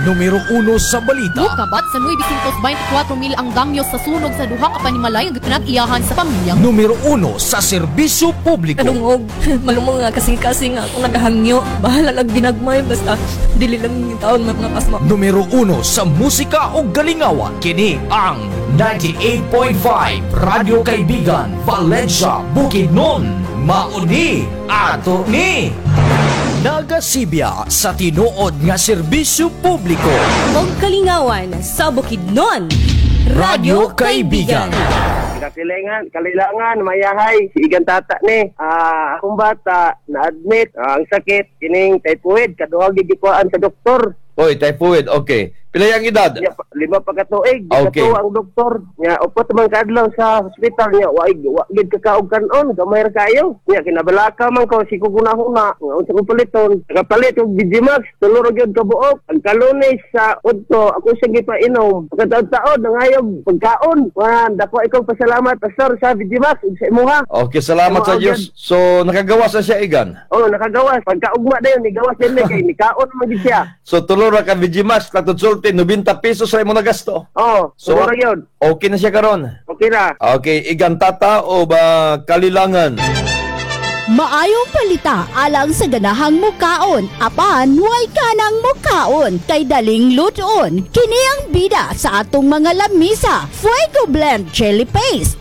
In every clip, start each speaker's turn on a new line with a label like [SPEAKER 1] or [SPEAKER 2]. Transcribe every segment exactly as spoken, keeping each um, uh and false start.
[SPEAKER 1] Numero uno sa balita.
[SPEAKER 2] Mukabat sa nine hundred twenty-four mil ang damyo sa sunog sa duha ka panimalay nga pinag-iyahan sa pamilyang
[SPEAKER 1] Numero uno sa serbisyo publiko.
[SPEAKER 3] Kadungog, malumong nga kasing-kasing nga akong nagahangyo. Bahala lang ginagmay, basta dili lang yung taon mga pasma.
[SPEAKER 1] Numero uno sa musika o galingawan. Kini ang ninety-eight point five Radyo Kaibigan, Valencia, Bukidnon. Mauni ato ni. Nagasibya sa tinuod nga serbisyo publiko.
[SPEAKER 3] Og kalingawan sa Bukidnon.
[SPEAKER 1] Radyo Kaibigan.
[SPEAKER 4] Kasilingan, kalilangan, mayahay, si Igan Tata ni. Ah, akong bata, na-admit, ah, ang sakit, kining typhoid, kaduha gikuan sa doktor.
[SPEAKER 5] Oy, typhoid. Okay. Pila yang edad?
[SPEAKER 4] Nya, pa- lima pa katuig,
[SPEAKER 5] Okay.
[SPEAKER 4] okay. Ang doktor. Nya, upat man kaadlaw sa hospital niya, wa wa gid kakaog kanon, gamay ra kayo. Nya, kinabalaka man ko, si kugunahuna, nga unsa kong paliton. Nakapalit og B G Max, tulo ra gyud kabuok. Ang kalunes sa udto, ako siyang gipainom. Pagkataon-taon, nangayog pagkaon. Wan, dako ikaw pasalamat, Pastor, sa B G Max, ug sa imuha.
[SPEAKER 5] Okay, salamat sa
[SPEAKER 4] Imo,
[SPEAKER 5] Diyos. So, nakagawas na siya, Igan.
[SPEAKER 4] Oh, nakagawas. Pagkaugma dayon, nigawas din ni kay nikaon man gid siya.
[SPEAKER 5] So, tulo ra ka B G Max, katong sulti, ninety pesos ra imo nagasto.
[SPEAKER 4] Oh,
[SPEAKER 5] So,
[SPEAKER 4] so ra gyud.
[SPEAKER 5] Okay na siya karon.
[SPEAKER 4] Okay ra.
[SPEAKER 5] Okay, Igan Tata o ba Kalilangan?
[SPEAKER 6] Maayong palita alang sa ganahang mukaon, apan way kanang mukaon, kay daling lutoon. Kini ang bida sa atong mga lamisa, Fuego Blend Chili Paste.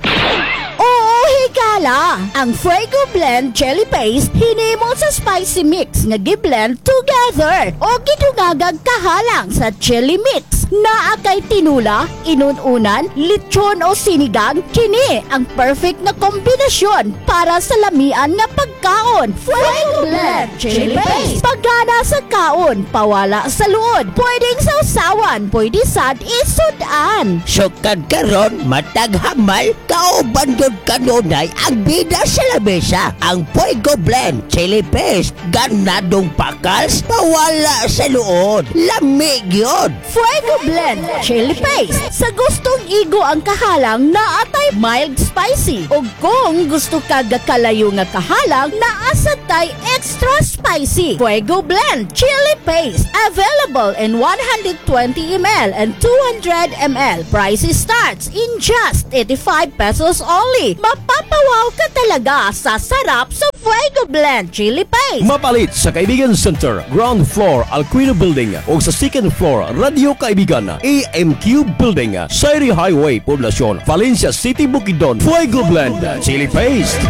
[SPEAKER 6] Oo, higala! Ang Fuego Blend Chili Paste hinimo sa spicy mix nga giblend together o gidungagag kahalang sa chili mix. Naa kay tinula, inununan, lechon o sinigang, kini ang perfect na kombinasyon para sa lamian nga pagkaon. Fuego Blend Chili Paste. Pagana sa kaon, pawala sa luod. Pwedeng sausawan, pwede sad isudan.
[SPEAKER 7] Sukad karon matag hamal, kauban gyud kanunay ang bida sa lamesa, ang Fuego Blend Chili Paste. Ganadong pakals, pawala sa luod. Lami gyud.
[SPEAKER 6] Fuego Blend Chili Paste. Sa gustong igo ang kahalang, naatay mild spicy. O kung gusto ka gakalayo nga kahalang, naasad tay extra spicy. Fuego Blend Chili Paste. Available in one hundred twenty milliliters and two hundred milliliters. Price starts in just eighty-five pesos only. Mapapawaw ka talaga sa sarap sa Fuego Blend Chili Paste.
[SPEAKER 1] Mapalit sa Kaibigan Center, ground floor, Alquino Building o sa second floor, Radio Kaibigan, A M Q Building, Sayri Highway, Poblacion, Valencia City, Bukidnon. Fuego Blend Chili Paste.